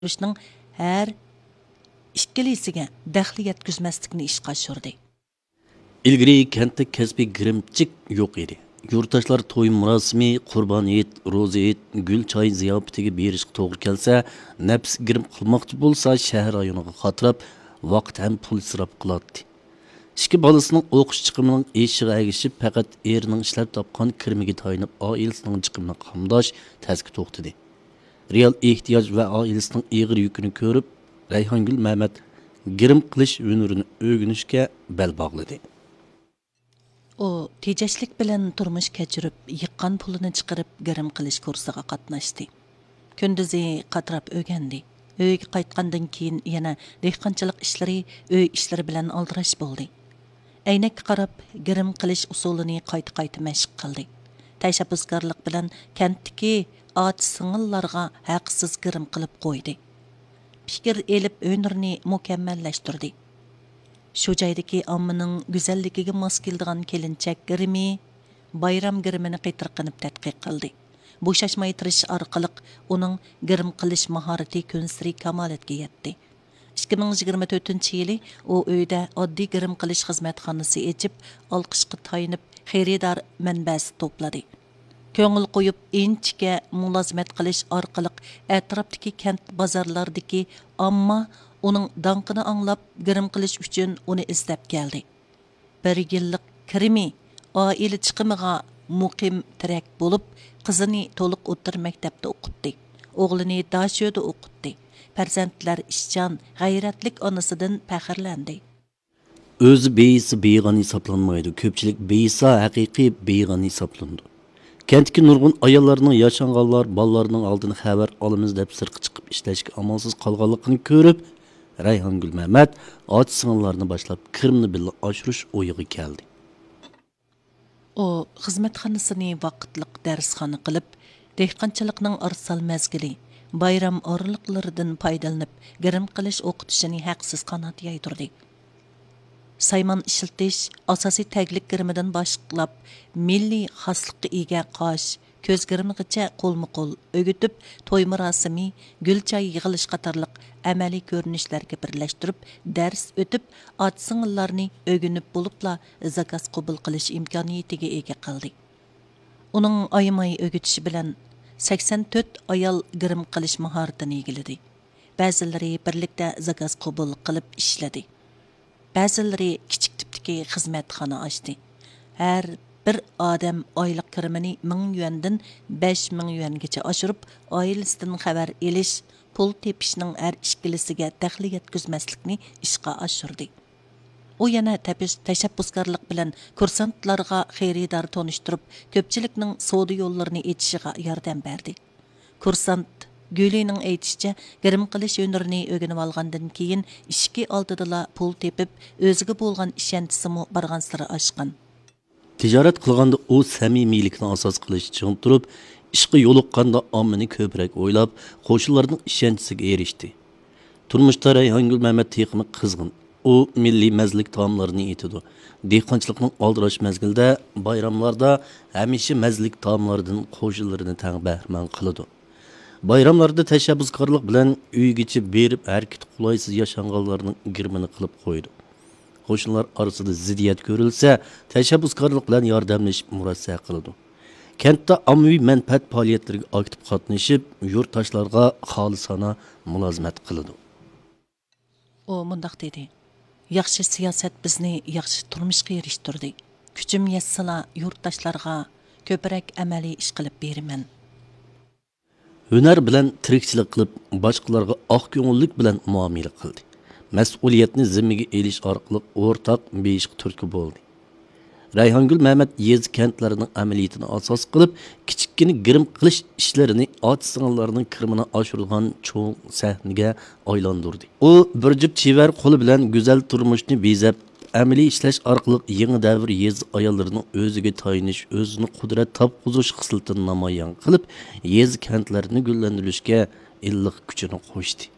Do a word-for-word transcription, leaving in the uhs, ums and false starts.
ئاشۇرۇشنىڭ ھەر ئىككىلىسىگە دەخلى يەتكۈزمەسلىكنى ئىشقا ئاشۇردى. ئىلگىرى كەنتتە كەسپىي گىرىمچىك يوق ئىدى. يۇرتداشلار توي مۇراسىمى، قۇربان ھېيت، روزا ھېيت، گۈل چاي زىياپىتىگە بېرىشقا توغرا كەلسە، نەپىسى گىرىم قىلماقچى بولسا، شەھەر رايونىغا قاتراپ، ۋاقىت ھەم پۇل ئىسراپ قىلاتتى. ئىككى بالىسىنىڭ ئوقۇش چىقىمىنىڭ ئېشىشىغا ئەگىشىپ، پەقەت ئېرىنىڭ ئىشلەپ تاپقان كىرىمىگە تايىنىپ، ئائىلىسىنىڭ چىقىمىنى قامداش تەسكە توختىدى. رېئال ئېھتىياج ۋە ئائىلىسىنىڭ ئېغىر يۈكىنى كۆرۈپ، رەيھانگۈل مەمەت گىرىم قىلىش ھۈنىرىنى ئۆگىنىشكە بەل باغلىدى. ئۇ تېجەشلىك بىلەن تۇرمۇش كەچۈرۈپ، يىغقان پۇلىنى چىقىرىپ، گىرىم قىلىش كۇرسىغا قاتناشتى. كۈندۈزى قاتراپ ئۆگەندى. ئۆيگە قايتقاندىن كېيىن يەنە دېھقانچىلىق ئىشلىرى، ئۆي ئىشلىرى بىلەن ئالدىراش بولدى. ئەينەككە قاراپ، گىرىم قىلىش ئۇسۇلىنى قايتا-قايتا مەشىق قىلدى. تەشەببۇسكارلىق بىلەن كەنتتىكى ئاچا-سىڭىللارغا ھەقسىز گىرىم قىلىپ قويدى. پىكىر ئېلىپ، ھۈنىرىنى مۇكەممەللەشتۈردى. شۇ جايدىكى ئاممىنىڭ گۈزەللىكىگە ماس كېلىدىغان كېلىنچەك گىرىمى، بايرام گىرىمىنى قېتىرقىنىپ تەتقىق قىلدى. بوشاشماي تىرىشىش ئارقىلىق ئۇنىڭ گىرىم قىلىش ماھارىتى كۈنسېرى كامالەتكە يەتتى. ئىككى مىڭ يىگىرمە تۆتىنچى يىلى ئۇ ئۆيدە ئاددىي گىرىم قىلىش خىزمەتخانىسى ئېچىپ، ئالقىشقا تايىنىپ، خېرىدار مەنبەسى توپلىدى. كۆڭۈل قويۇپ، ئىنچىكە مۇلازىمەت قىلىش ئارقىلىق ئەتراپتىكى كەنت بازارلاردىكى ئامما ئۇنىڭ داڭقىنى ئاڭلاپ، گىرىم قىلىش ئۈچۈن ئۇنى ئىزدەپ كەلدى. بىر يىللىق كىرىمى، ئائىلە چىقىمىغا مۇقىم تىرەك بولۇپ، قىزىنى تولۇق ئوتتۇرا مەكتەپتە ئوقۇتتى. ئوغلىنى داشۆدە ئوقۇتتى. پەرزەنتلەر ئىشچان، غەيرەتلىك ئانىسىدىن پەخىرلەندى. ئۆزى بېيىسا بېيىغان ھېسابلانمايدۇ، كۆپچىلىك بېيىسا ھەقىقىي بېيىغان ھېسابلىنىدۇ. كەنتتىكى نۇرغۇن ئاياللارنىڭ ياشانغانلار بالىلارنىڭ ئالدىدىن خەۋەر ئالىمىز دەپ سىرتقا چىقىپ ئىشلەشكە ئامالسىز قالغانلىقىنى كۆرۈپ، رەيھانگۈل مەمەت ئاچا-سىڭىللارنى باشلاپ كىرىمنى بىللە ئاشۇرۇش ئويىغا كەلدى. ئۇ خىزمەتخانىسىنى ۋاقىتلىق دەرسخانا قىلىپ، دېھقانچىلىقنىڭ ئارىسال مەزگىلى، بايرام ئارىلىقلىرىدىن پايدىلىنىپ، گىرىم قىلىش ئوقۇتۇشىنى ھەقسىز قانات يايدۇردى. سايمان ئىشلىتىش، ئاساسىي تەگلىك گىرىمىدىن باشلاپ، مىللىي خاسلىققا ئىگە قاش، كۆز گىرىمىغىچە قولمۇ قول ئۆگىتىپ، توي مۇراسىمى، گۈل چاي يىغىلىش قاتارلىق ئەمەلىي كۆرۈنۈشلەرگە بىرلەشتۈرۈپ، دەرس ئۆتۈپ، ئاچا-سىڭىللارنى ئۆگىنىپ بولۇپلا زاكاز قوبۇل قىلىش ئىمكانىيىتىگە ئىگە قىلدى. ئۇنىڭ ئايىماي ئۆگىتىشى بىلەن سەكسەن تۆت ئايال گىرىم قىلىش ماھارىتىنى ئىگىلىدى. بەزىلىرى بىرلىكتە زاكاز قوبۇل قىلىپ ئىشلىدى. بەزىلىرى كىچىك تىپتىكى خىزمەتخانا ئاچتى. ھەر بىر ئادەم ئايلىق كىرىمىنى مىڭ يۈەندىن بەش مىڭ يۈەنگىچە ئاشۇرۇپ، ئائىلىسىدىن خەۋەر ئېلىش، پۇل تېپىشنىڭ ھەر ئىككىلىسىگە دەخلى يەتكۈزمەسلىكنى ئىشقا ئاشۇردى. ئۇ يەنە تەپىش-، تەشەببۇسكارلىق بىلەن كۇرسانتلارغا خېرىدار تونۇشتۇرۇپ، كۆپچىلىكنىڭ سودا يوللىرىنى ئېچىشىغا ياردەم بەردى. كۇرسانت گۈلىنىڭ ئېيتىشىچە، گىرىم قىلىش ھۈنىرىنى ئۆگىنىۋالغاندىن كېيىن، ئىشىكى ئالدىدىلا پۇل تېپىپ، ئۆزىگە بولغان ئىشەنچىسىمۇ بارغانسېرى ئاشقان. تىجارەت قىلغاندا ئۇ سەمىمىيلىكنى ئاساس قىلىشتا چىڭ تۇرۇپ، ئىشقا يولۇققاندا ئاممىنى كۆپرەك ئويلاپ، قوشنىلارنىڭ ئىشەنچىسىگە ئېرىشتى. تۇرمۇشتا رەيھانگۈل مەمەت تېخىمۇ قىزغىن. ئۇ مىللىي مەززىلىك تائاملارنى ئېتىدۇ. دېھقانچىلىقنىڭ ئالدىراش مەزگىلىدە، بايراملاردا ھەمىشە مەززىلىك تائاملاردىن قوشنىلىرىنى تەڭ بەھرىمەن قىلىدۇ. بايراملاردا تەشەببۇسكارلىق بىلەن ئۆيگىچە بېرىپ، ھەرىكىتى قولايسىز ياشانغانلارنىڭ گىرىمىنى قىلىپ قويىدۇ. قوشنىلار ئارىسىدا زىددىيەت كۆرۈلسە، تەشەببۇسكارلىق بىلەن ياردەملىشىپ مۇرەسسە قىلىدۇ. كەنتتە ئاممىۋى مەنپەئەت پائالىيەتلىرىگە ئاكتىپ قاتنىشىپ، يۇرتداشلارغا خالىسانە مۇلازىمەت قىلىدۇ. ئۇ مۇنداق دېدى: «ياخشى سىياسەت بىزنى ياخشى تۇرمۇشقا ئېرىشتۈردى. كۈچۈم يەتسىلا، يۇرتداشلارغا كۆپرەك ئەمەلىي ئىش قىلىپ بېرىمەن.» ھۈنەر بىلەن تىرىكچىلىك قىلىپ، باشقىلارغا ئاق كۆڭۈللۈك بىلەن مۇئامىلە قىلدى. مەسئۇلىيەتنى زىممىگە ئېلىش ئارقىلىق ئورتاق بېيىشقا تۈرتكە بولدى. رەيھانگۈل مەمەت يېزا، كەنتلەرنىڭ ئەمەلىيىتىنى ئاساس قىلىپ، كىچىككىنە گىرىم قىلىش ئىشلىرىنى ئاچا-سىڭىللارنىڭ كىرىمىنى ئاشۇرىدىغان چوڭ سەھنىگە ئايلاندۇردى. ئۇ بىر جۈپ چېۋەر قولى بىلەن گۈزەل تۇرمۇشنى بېزەپ، ئەمەلىي ئىشلەش ئارقىلىق يېڭى دەۋر يېزا ئاياللىرىنىڭ ئۆزىگە تايىنىش، ئۆزىنى قۇدرەت تاپقۇزۇش خىسلىتىنى نامايان قىلىپ، يېزا، كەنتلەرنى گۈللەندۈرۈشكە ئىللىق كۈچىنى قوشتى.